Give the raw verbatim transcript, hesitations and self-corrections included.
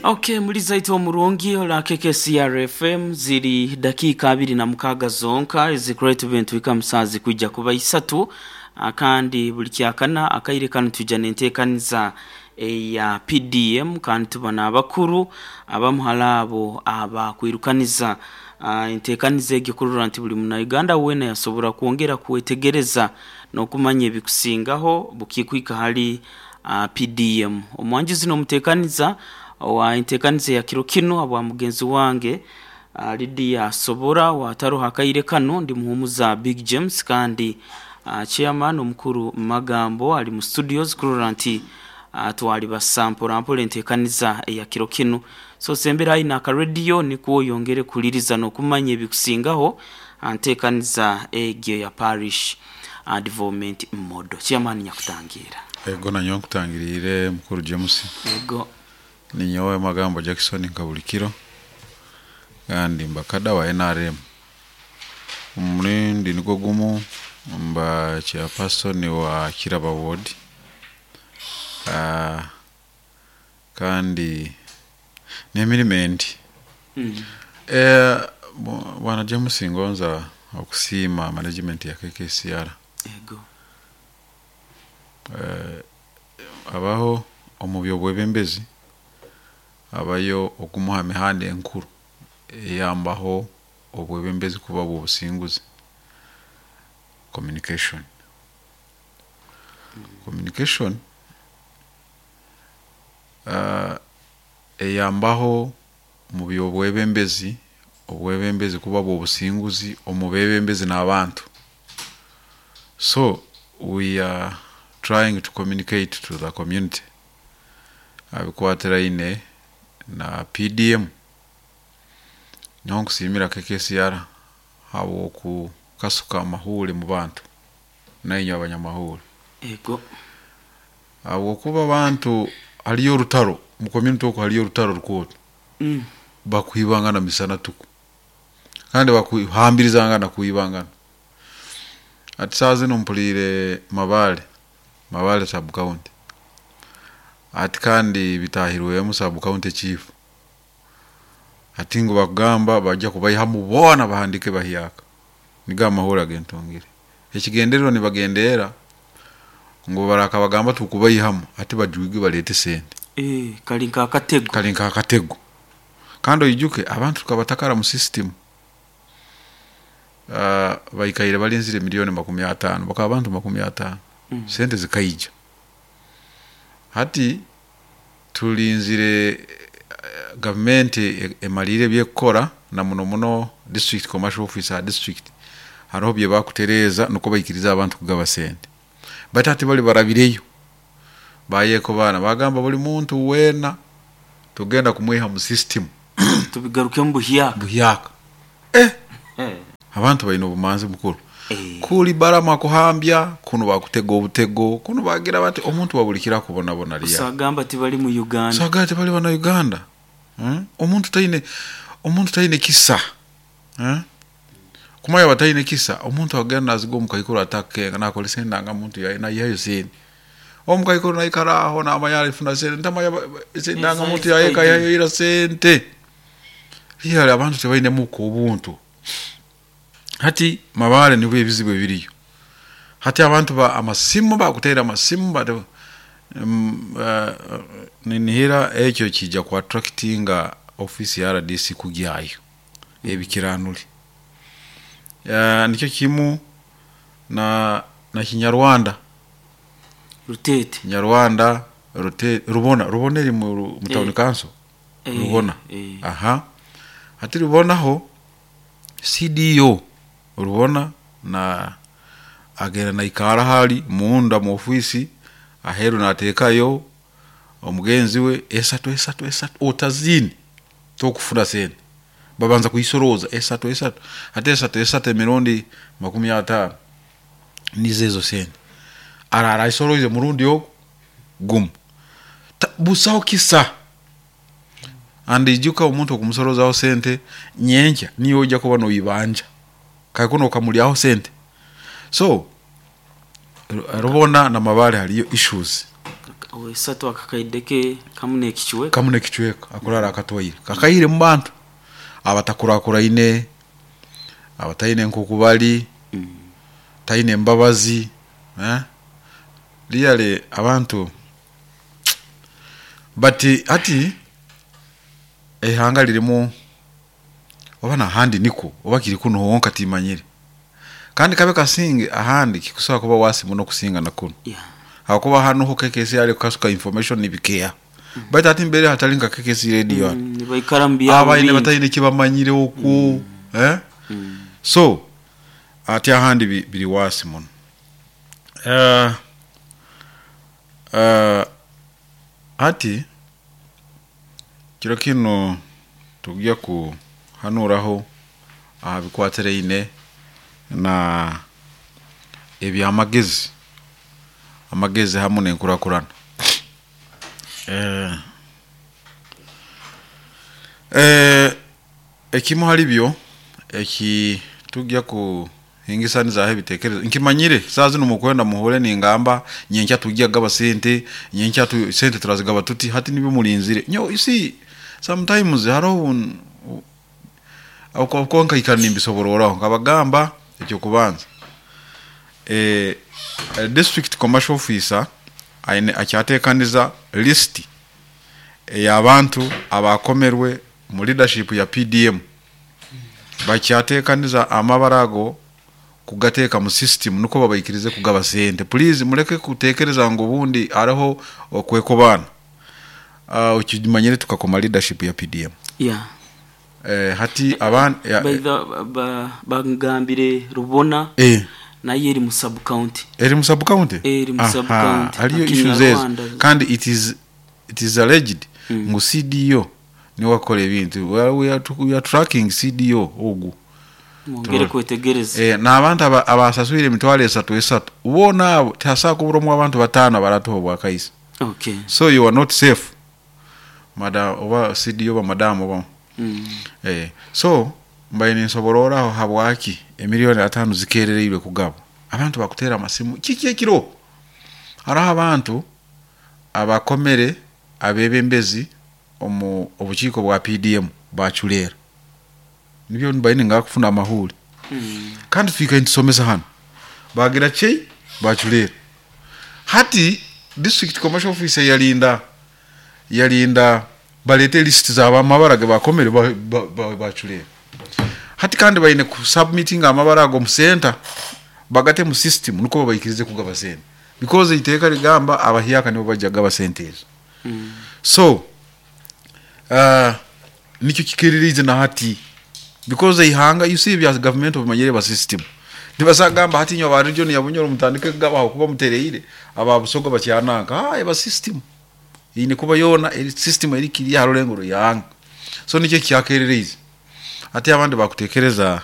Okay, mulizaito omurungi ola K K C R F M, ziri dakika abiri na mukaaga zonka ezikureeta ebintu bika musanzu kwijja kuba isatu. Ah, kandi buli kyakana akaire kanu twijja nenteekaniza eya P D M, kandi tuba n'abakuru abamuhala abo abakwirukaniza ah, enteekaniza egyo kurora nti buli Munauganda weena yasobora kwongera kwetegereza n'okumanya ebikusingaho bukikwika hali ah, P D M. Omwanjuzi n'omuteekaniza wa enteekaniza ya kiro kinu abwa mugenzi wange uh, Lydia Sobora wataroho akaire kanu, ndi muhumuza Big James, kandi uh, chairman omukuru Magambo ali mu studios kurora nti uh, twali basa mpora mpora enteekaniza eya kiro kinu. So sembera aina aka radio nikwo oyongere kuliriza n'okumanya ebikusingaho nteekaniza egyo ya parish uh, development model. Chairman, nyakutangira. Ego, nanyowe nkutangiriire, mukuru James. Ego. Ninyowe Magambo Jackson nka buli kiro, kandi mbakada wa N R M. Omulindi nigwo gumu mba chairperson wa Kiraba Ward, uh, kandi n'emirimo endi. mm. Eh, bwana James, ngonza okusiima management ya K K C R. Ego. Eh, abaho omu byobwebembezi abayo okumuha emihanda enkuru eyambaho obwebembezi kuba bw'obusinguzi: communication. Communication uh, eyambaho mu byobwebembezi obwebembezi kuba bw'obusinguzi omu bebembezi n'abantu. So we are trying to communicate to the community abikwatiraine na P D M. Nyowe nkusiimira K K C R habw'okukasuka amahuri mu bantu nainywe abanyamahuri. Ego. Habwokuba abantu haliyo orutaro mu community, okwo haliyo orutaro rukooto. mm. Bakwibangana misana tuku kandi bakuhambirizangana kwibangana. Ati saa zino mpuliire Mabale, Mabale sub county, ati kandi bitahirwemu sub county chief, ati ngu bakugamba bajja kubaihamu boona bahandike bahyaka. Nigo amahuri agentongere. Ekigendererwa nibagendeera ngu baraka bagamba tukubaihamu, ati bajwige balete sente. Eh, kali nk'akatego. Kali nk'akatego. Kandi oijuke abantu tukabatakara mu system, uh, baikaire balinzire miliyoni makumi ataano, bakaba abantu makumi ataano. mm. Sente zikaija. Hati tulinzire eh, gavumenti e- emalire ebyekukora, na muno muno district commercial officer district hariho bye bakutereeza nuko baikiriza abantu kugaba sente. Bati hati bali barabireyo bayeko baana bagamba buli muntu weena tugenda kumwiha mu system. Tubigarukemu buhyaka. Buhyaka, eh. Eh. Abantu balina obumanzi, mukuru. Eh. Kuli barama kuhambya kuno bakutega obutego kuno bagira bati omuntu wabulikira akubonabona lya. Usagamba tibali mu Uganda. Saga tebali bana Uganda, hmm? omuntu taine omuntu taine kisa, hmm? Kumanya bataine kisa, omuntu agenda naziga omukaikuru atakenga nakolesa endanga muntu yaye nayihayo sente. Omukaikuru naikara aho namanya alifuna sente, ntamanya endanga muntu yaye kayihayo ira sente. Liyali abantu tebayinemuko obuntu. Hati Mabale nibwo ebizibu ebiriyo. Hati abantu ba amasimu bakutera amasimu bate um, uh, ninihira ekyo kijja ku attractinga office ya R D C kugyayo ebikiranuli. uh, nikyo kimu na na Kinyarwanda. Rutete. Kinyarwanda, Rute, Rubona. Rubona eri mu, mu town Eh. council. Eh, Rubona. eh. Aha, hati Rubonaho C D O Rubona na agenda naikara hali munda mu ofisi aheru nateekayo omugenzi we esatu esatu esatu otazini tokufuna sente. Babanza kuisoroza esatu esatu, ate esatu esatu emirundi makumi ataano nizo ezo sente. Arara aisoroize murundi ogu gumu. Ta- busaho kisa andi ijuka omuntu okumusorozaho sente nyenkya niyo ojja kuba noibanja kakuno okamulyaho sente. So Ru- rubona na Mabale haliyo issues. Esatu akakaideke kamu n'ekichweka. Kamu n'ekichweka akurara akatwaire kakaire mu bantu abatakurakuraine, abataine nkoku bali, Mm. taine embabazi, eh? Really abantu, but hati eihanga lirimu oba nahandi niko oba kiri kunu honka timanyire, kandi kabe kasinge ahandi kikusobola kuba wasi muno kusinga na kunu. Yeah. Hakuba hano ho K K C ali kukasuka information nibikeya, baitu ati mbere hatali nka K K C radio hano. Mm, nibaikara mu byabo Abaine bingi. bataine kibamanyire oku, eh? Mm. So ati ahandi bi- biri wasi muno. uh, uh, hati kiro kino tujya kuhanuraho aha bikwatiraine na ebyamagezi, amagezi hamu n'enkurakurana. eh, eh, ekimu hali byo eki tujya kuhingisanizaho ebitekerezo, nkimanyire saa zino mukwenda muhure ningamba nyenkya tujya gaba sente, nyenkya tu, sente turazigaba tuti hati nibyo mulinzire nyo. You see, sometimes hariho uko nkaikara nimbisobororaho nkabagamba. Ekyokubanza, eh, eh, district commercial officer aine akyatekaniza list ey'abantu abakomerwe mu leadership ya P D M. Bakyatekaniza amabara ago kugateeka mu system nuko babaikirize kugaba sente. Please muleke kutekereza ngu obundi hariho okwekobana. uh, ukimanyire tukakoma leadership ya P D M. Yeah. eh, hati aban ya, By the- ba- bangambire Rubona eh, nayo eri mu sub county. Eri mu sub county. Eri mu sub county. Hariyo Akina issues ezo. Rwanda. Kandi it is it is alleged Mm. ngu C D O niwe wakola ebintu. we are, we are, we are tracking C D O ogu. Mwongere kwetegereza. Eh, n'abantu aba- abasaswire emitwaro esatu esatu boona abo tihasobola kuburamu abantu bataano abaratuha obwakaisi. Okay. So you are not safe, madam oba C D O oba madamu oba Mm. eh, so mbaye ninsobororaho habwaki emiliyoni ataano zikerereirwe kugaba. Abantu bakutera amasimu kiki ekiro. Hariho abantu abakomere abebembezi omu obukiiko bwa P D M baculeera, nibyo mbaye ningakufuna amahuri. Mm. Kandi twikaire nitusomesa hano bagira chei baculeera. Hati district commercial officer yalinda yalinda balete list z'abamabara ge bakomere baculeera ba, ba, baculeera. Hati kandi baine kusubmitting amabara ago mu center bagate mu system nuko babaikirize kugaba sente, because iteeka ligamba abahyaka nibo bajja gaba sente ezo. Mm. So uh, nikyo kikiririze na hati because ihanga, you see, bya government obimanyire ba system nibasagamba hati nyo aba region ya Bunyoro mutandike kugabaho kuba mutereire aba Busoga bakyananka. Ah, eba system ine kuba yona eri system eri kiri harulengo yanga. So nicyo kyakerereze. Ati abandi bakutekereza